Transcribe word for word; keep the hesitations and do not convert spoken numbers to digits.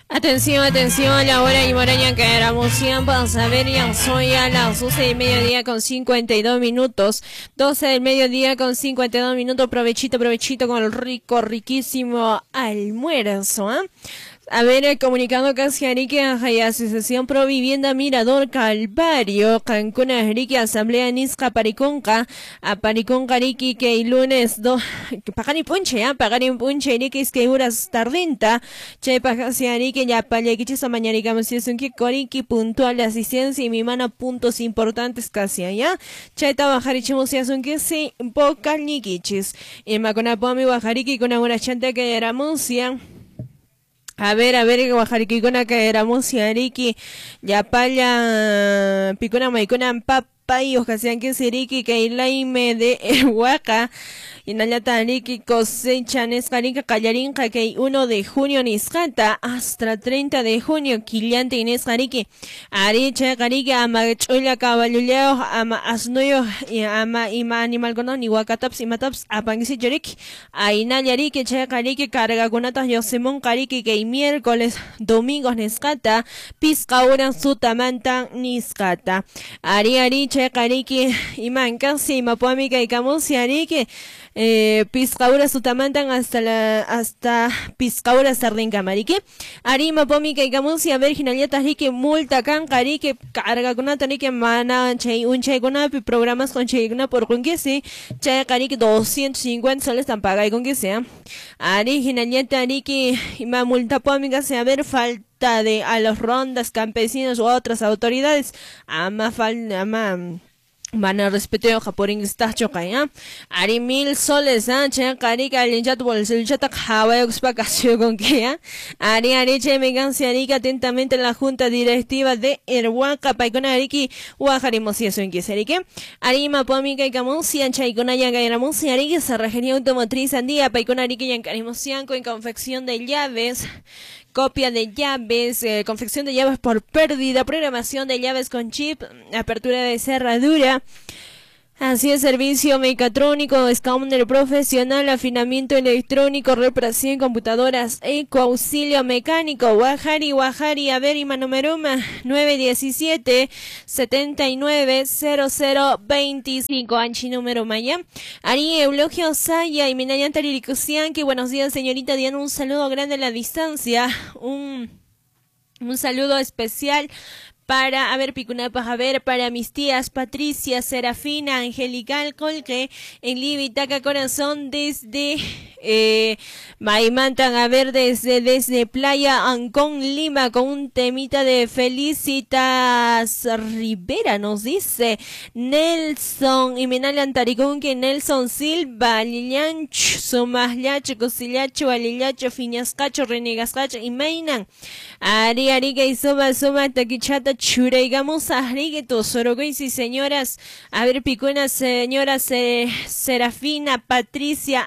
Atención, atención, a la hora y moraña que éramos para saber, ya soy a las doce del mediodía con cincuenta y dos minutos. doce del mediodía con cincuenta y dos minutos. Provechito, provechito con el rico, riquísimo almuerzo, ¿eh? A ver, el comunicado casi Arique, Asociación Pro Vivienda Mirador Calvario, Cancún, Arique, Asamblea Nisca, Pariconca, a Pariconca, Arique, que el lunes, do, Pagani Punche, ¿eh? Pagani Punche, Arique, es que horas tardinta, che, Pagasi, Arique, ya, Payaquichisa, mañana, si es un que Coriqui, puntual de asistencia y mi mano, puntos importantes casi allá, che, Tabajarichimos, si es un que sí, vocal niquichis, y Maconapomi, Guajariqui, con una chanta que era Muncia. A ver, a ver, Guajariquicona que era Musiariki, Yapaya, Picona, Maicona, Papayos, Casian que Siriki, Kailaime de Huaca, y Nayata Ariki, cosecha Nescarika, Callarinca, que uno de junio Niscata, hasta treinta de junio, Quillante y Nescariki, Aricha, Carica, Ama, Chula, Caballuleo, Ama, Asnuyo, y Ama, Ima, Animal Conon, Iguacataps, Imataps, Apanguisi, Yorik, Ainayariki, Che, Cariki, Carga, Cunatas, Yosemón, Cariki, que miércoles, domingos, Nescata, Pisca, Ura, Sutamanta, Niscata, Ari, Ari, Che, Cariki, Iman, Casi, Mapuamica y Camusi, Ariki, eh, Piscaura Sutamantan hasta la, hasta Piscaura Sardinca Marique, Arima Pomica y Camusi, a ver, Ginalieta Rique, Multa Canca, Rique, Carga Kunata, Rique, Mana, Che, un Che Kunapi, programas con Che Kuna por con que sí, Che Carique, doscientos cincuenta soles tan paga y con que sea. Ari, Ginalieta, Rique, Ima Multa Pomica, se a ver, falta de a los rondas, campesinos u otras autoridades, ama fal, ama van a respetar japorín está choca, Ari mil soles, ah, che, carica, el chat, bolsillo, chat, java, oxpa, con que, ah. Ari, ari, che, me canse, arica, atentamente la junta directiva de Erhuaca, Paicona, Ariki, Guajarimo, si eso en que se arique. Arima, Pomica y Camusia, Chaicona, Yanga, Yaramusia, Arique, Cerrajería Automotriz, Andía, Paicona, Arique, Yancarimosianco, en confección de llaves, copia de llaves, eh, confección de llaves por pérdida, programación de llaves con chip, apertura de cerradura. Así es, servicio mecatrónico, escáner profesional, afinamiento electrónico, reparación computadoras, eco, auxilio mecánico, Guajari, Guajari, a ver, y Manomeruma, nueve diecisiete, setenta y nueve, cero cero veinticinco, Anchi número maya. Ari Eulogio Saya y Minayan Taririkusianki, buenos días, señorita Diana, un saludo grande a la distancia, un, un saludo especial para, a ver, Picunapa, a ver, para mis tías Patricia, Serafina, Angelical, Colque, en Libitaca, Corazón, desde, eh, Maimantan, a ver, desde, desde Playa Ancón, Lima, con un temita de Felicitas Rivera, nos dice Nelson, y Minal Antaricún, que Nelson Silva, Lilianch, Sumaslacho, Cosillacho, Alillacho, Fiñascacho, Renegascacho, y Mainan, Ari, Arica y Suma, Suma, Taquichata, Chureigamos a Rigueto, Sorogoisi, señoras, a ver, Picuna, señoras, eh, Serafina, Patricia,